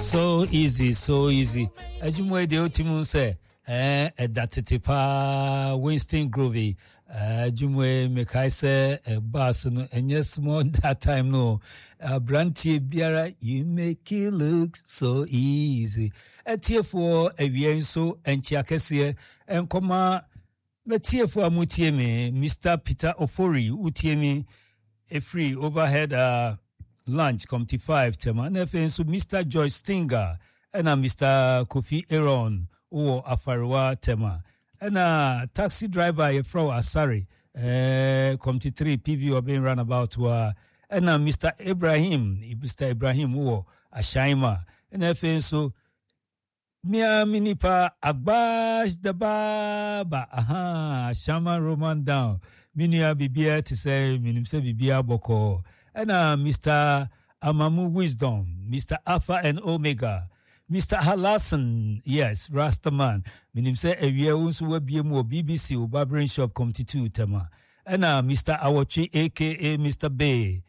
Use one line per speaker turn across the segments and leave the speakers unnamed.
So easy, so easy. Adwuma yi deɛ wotumi sɛ ɛɛ ɛda tete paa Winston Grove yi. Adwuma yi mekae sɛ ɛbaa so no ɛnyɛ small that time no. Aberanteɛ biara you make it look so easy. Atiefoɔ awia nso nkyea kɛseɛ nkɔma mɛtiefoɔ a motie me Mr. Peter Ofori wotie me ɛfiri overhead uh, lunch committee 5 tɛma na afei nso Mr. George Stinger ɛna Mr. Kofi Aaron wɔ Afarewa tɛma ɛna taxi driver a yɛfrɛ wo Asare eh, committee 3 PV Ɔben runabout wa ɛna Mr. Ibrahim Mr. Ibrahim wɔ Ashaima ɛna afei nso Mia me nipa Agbash the Baba aha Shaman Roman down me nua biribiara te sɛ menim sɛ biribiara bɔkɔɔ ɛna Mr. Amamu Wisdom Mr. Alpha and Omega Mr. Halasan yes Rastaman menim sɛ awia wo nso wabie mu wɔ BBC wo barbering shop Committee 2 Tema ɛna Mr. Awɔtwe aka Mr. Bay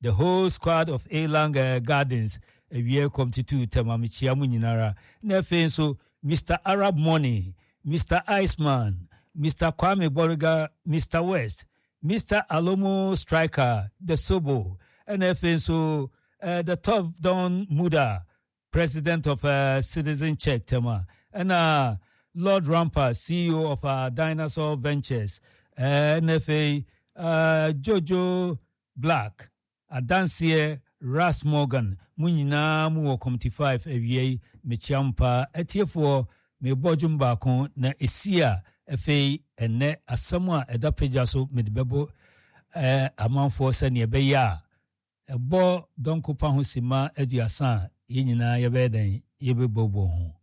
The whole squad of Elang uh, Gardens awie kɔmtutu tɛm amekyia mu nyinara. Na afei nso Mr. Arab Money, Mr. Iceman, Mr. Kwame Boriga, Mr. West, Mr. Alomo Striker, The Sobo, ɛna afei nso uh, The Top Don Muda, President of uh, Citizen Check Tema, ɛna Lord Rampa, CEO of uh, Dinosaur Ventures, ɛna afei uh, Jojo Black, Adanseɛ Ras Morgan, mo nyinaa mo wɔ Committee 5 awia yi, mekyia mo paa. Atiefoɔ, mebɔ dwom baako na ɛsi a, afei ɛnnɛ asɛm a ɛda pagya so mede bɛbɔ eh, amanfoɔ sɛdeɛ ɛbɛyɛ a ɛbɔ dɔnko pa ho simma 30 a, yɛn nyinaa yɛbɛyɛ dɛn? Yɛbɛbɔbɔ ho.